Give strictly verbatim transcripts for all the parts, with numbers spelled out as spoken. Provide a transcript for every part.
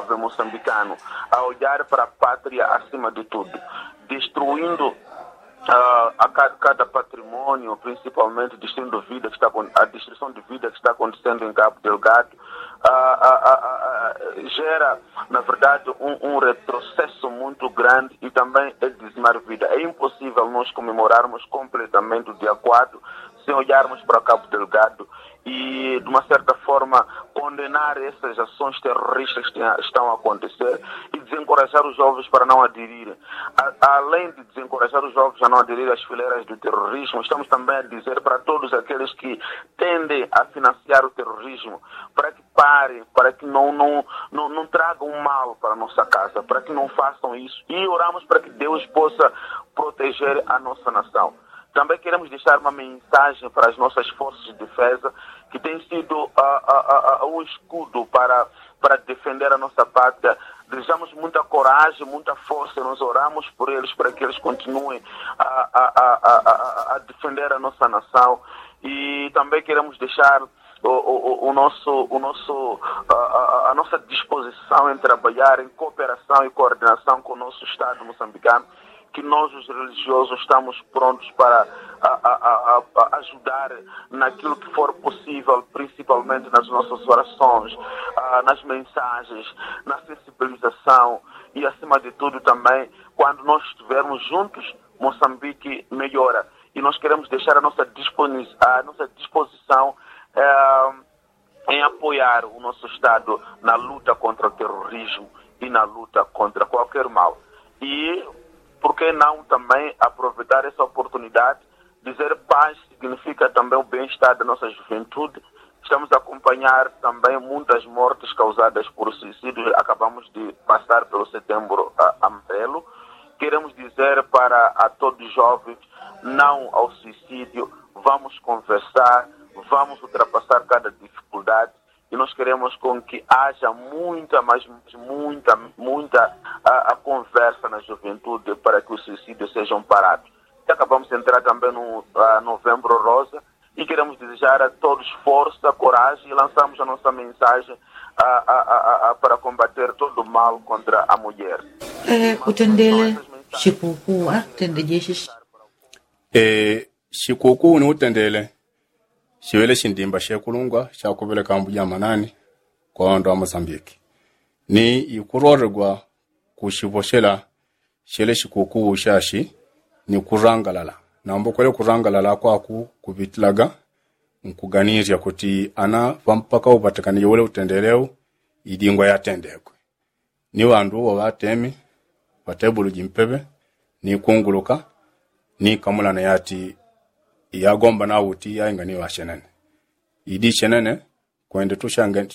Moçambicano a olhar para a pátria acima de tudo, destruindo a cada patrimônio, principalmente destruindo vida que está a destruição de vida que está acontecendo em Cabo Delgado, gera, na verdade, um retrocesso muito grande e também é dizimar vida. É impossível nós comemorarmos completamente o dia quatro sem olharmos para Cabo Delgado e, de uma certa forma, condenar essas ações terroristas que estão a acontecer e desencorajar os jovens para não aderirem. Além de desencorajar os jovens a não aderir às fileiras do terrorismo, estamos também a dizer para todos aqueles que tendem a financiar o terrorismo para que parem, para que não, não, não, não tragam mal para a nossa casa, para que não façam isso. E oramos para que Deus possa proteger a nossa nação. Também queremos deixar uma mensagem para as nossas forças de defesa, que têm sido um escudo para, para defender a nossa pátria. Desejamos muita coragem, muita força, nós oramos por eles para que eles continuem a, a, a defender a nossa nação. E também queremos deixar o, o, o nosso, o nosso, a, a, a nossa disposição em trabalhar em cooperação e coordenação com o nosso Estado moçambicano, que nós, os religiosos, estamos prontos para a, a, a, ajudar naquilo que for possível, principalmente nas nossas orações, nas mensagens, na sensibilização e, acima de tudo, também, quando nós estivermos juntos, Moçambique melhora. E nós queremos deixar a nossa, a nossa disposição eh, em apoiar o nosso Estado na luta contra o terrorismo e na luta contra qualquer mal. E, por que não também aproveitar essa oportunidade, dizer paz significa também o bem-estar da nossa juventude. Estamos a acompanhar também muitas mortes causadas por suicídio. Acabamos de passar pelo setembro amarelo. Queremos dizer para a todos os jovens, não ao suicídio, vamos conversar, vamos ultrapassar cada dificuldade e nós queremos com que haja muita, mas muita, muita a, a conversa na juventude para que os suicídios sejam parados. E acabamos de entrar também no a, novembro rosa e queremos desejar a todos força, coragem e lançamos a nossa mensagem a, a, a, a, para combater todo o mal contra a mulher. Eh, kutendele shikuku atende jeshi. Eh, shikuku ni utendele shiŵele shindimba shekulungwa shakupeleka mbuja manani kwa ŵandu ŵa mosambiki ni ikurorerwa kushiŵoshela shele shikuku shashi ni kurangalala. Nambo kwele kurangalala kwaku kuŵitilaga nkuganirya kuti ana ŵampaka uŵatekane jowele utendele u idingwa yatendekwe ni ŵandu uwo ŵatemi ŵatebulu jimpeŵe ni kunguluka ni kamulana yati yagomba na uti yainga ni ŵashenene. Idi shenene kwende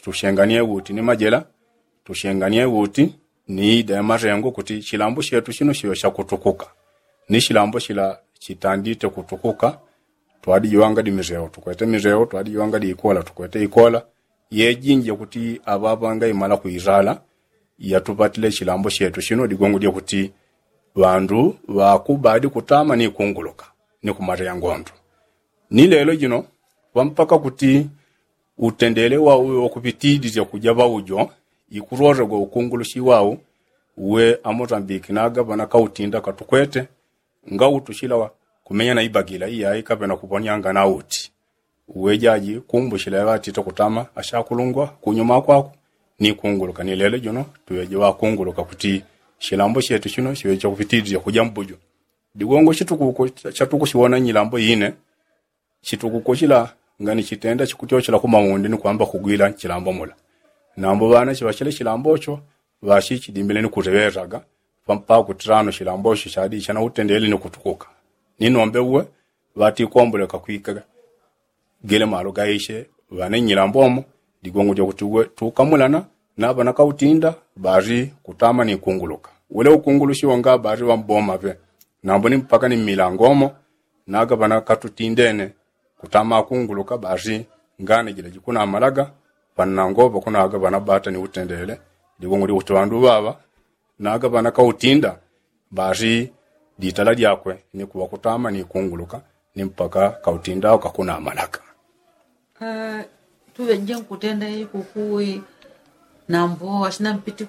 tushenganie uti ni majela tushenganie uti ni ida ya marengo kuti shilambo shetu shino shiŵe shakutukuka ni shilambo shila shitandite kutukuka. Twadijiwanga di mireo tukwete mireo twadijiwanga di ikola tukwete ikola yejinje kuti aŵaŵanga imala kuirala yatuŵatile shilambo shetu shino digongo dya kuti ŵandu ŵakubadi kutama ni kunguluka ni kumareya ngondo. Ni lelo jino ŵampaka kuti utendele wau uwe wakuŵitidisya kuja ŵaujo ikurorerwa ukungulushi wau uwe amosambiki naga ŵana kautinda katukwete ngautushila kumenya na ibagila iyai kaŵena kuŵonyanga na uti uwe jaji kumbushila yaŵatite kutama ashakulungwa kunyuma kwaku ni kunguluka ni lelo jino tuŵeje ŵakunguluka kuti shilambo shetu shino shiŵeje chakuŵitidisya kuja mbujo. Digongo shitukuko shatukushiwona nyilambo ine shitukuko shila ngani shitenda shikutyoshela kumaundi ni kwamba kugwila nchilambo mula. Nambo ŵana shiŵashele shilambo sho ŵashi shidimbile ni kureŵeraga ŵampaka kutirano shilambo sho shadi shana utendele ni kutukuka ni nombe uwe ŵatikomboleka kwika gele malo gaishe ŵane nyilambo mo. Digongo dya kuti uwe tukamulana na ŵana kautinda ŵari kutama ni kunguluka wele ukungulushi wonga ŵari ŵamboma ŵe nambo ni mpaka ni mmilango mo naga ŵana katutindene kutama akunguluka ŵari ngane jila jikunamalaga ŵannango ŵakunaga ŵana ŵata ni utendele. Digongo dya kuti ŵandu ŵaŵa naga ŵana kautinda ŵari ditala dyakwe ni kuŵa kutama ni kunguluka ni mpaka kautinda kakunamalaga. Tuŵeje nkutenda ikukuwi nambo ashina mpiti.